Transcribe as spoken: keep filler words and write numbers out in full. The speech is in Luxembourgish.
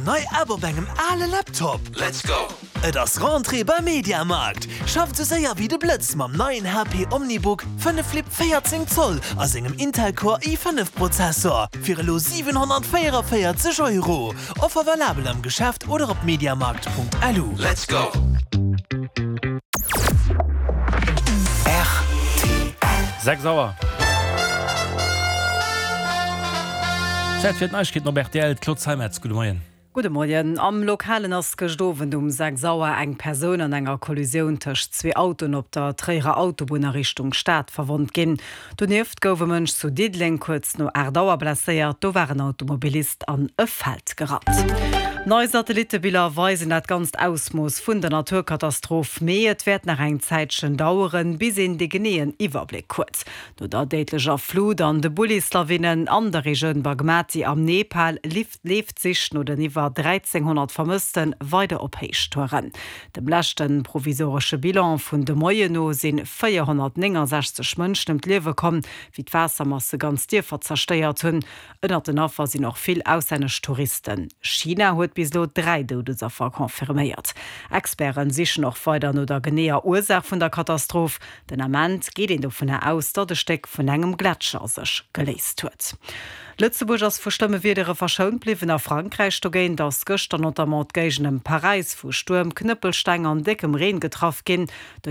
nei App op engem ale Laptop? Let's go! Et ass Rentrée beim Mediamarkt! Schafft sou séier wéi de Blëtz mam neien H P OmniBook fënnef Flip véierzéng Zoll a sengem Intel Core i fënnef Prozessor fir elo siwenhonnertvéierenvéierzeg Euro. Offer valabel am Geschäft oder op mediamarkt Punkt L U. Let's go! Sechs Auer. Zäit fir d'Neiegkeeten op R T L. D'Claude Zeimetz, gudde Moien. Gudde Moien. Am Lokalen ass gëscht Owend um sechs Auer eng Persoun an enger Kollisioun tëscht zwee Autoen op der Tréierer Autobunn a Richtung Stad verwonnt ginn. Donieft gouf e Mënsch zu Diddeleng kuerz no aacht Auer blesséiert, do war en Automobilist an e Feld gerannt. Nei Satellittebiller weisen dat ganzt Ausmooss vun der Naturkatastroph, mee et wäert nach eng Zäitchen daueren, bis een de geneeën Iwwerbléck huet. No der déidlecher Flut an de Bullislawinnen an der Regioun Bagmati am Nepal leeft d'Sich no den iwwer dräizénghonnert Vermësste weider op Héichtouren. Dem leschte provisoresche Bilan vun de Moien no si véierhonnertnéngensechzeg Mënschen ëm d'Liewe komm, wéi d'Waassermasse ganz Dierfer zerstéiert hunn. Ënnert den Affer sinn och vill auslännesch Touristen. China huet bis elo dräi Doudesaffer confirméiert. Experte sichen och weider no der geneeër Ursaach vun der Katastroph. Den Ament geet een dovunner aus, datt e Stéck vun engem Gletscher sech geléist huet. Lëtzebuerg ass vu schlëmme Wiedere verschount bliwwen. A Frankräich dogéint ass gëschter notamment d'Géigend ëm Paräis vu Stuerm, Knëppelsteng an déckem Reen getraff ginn.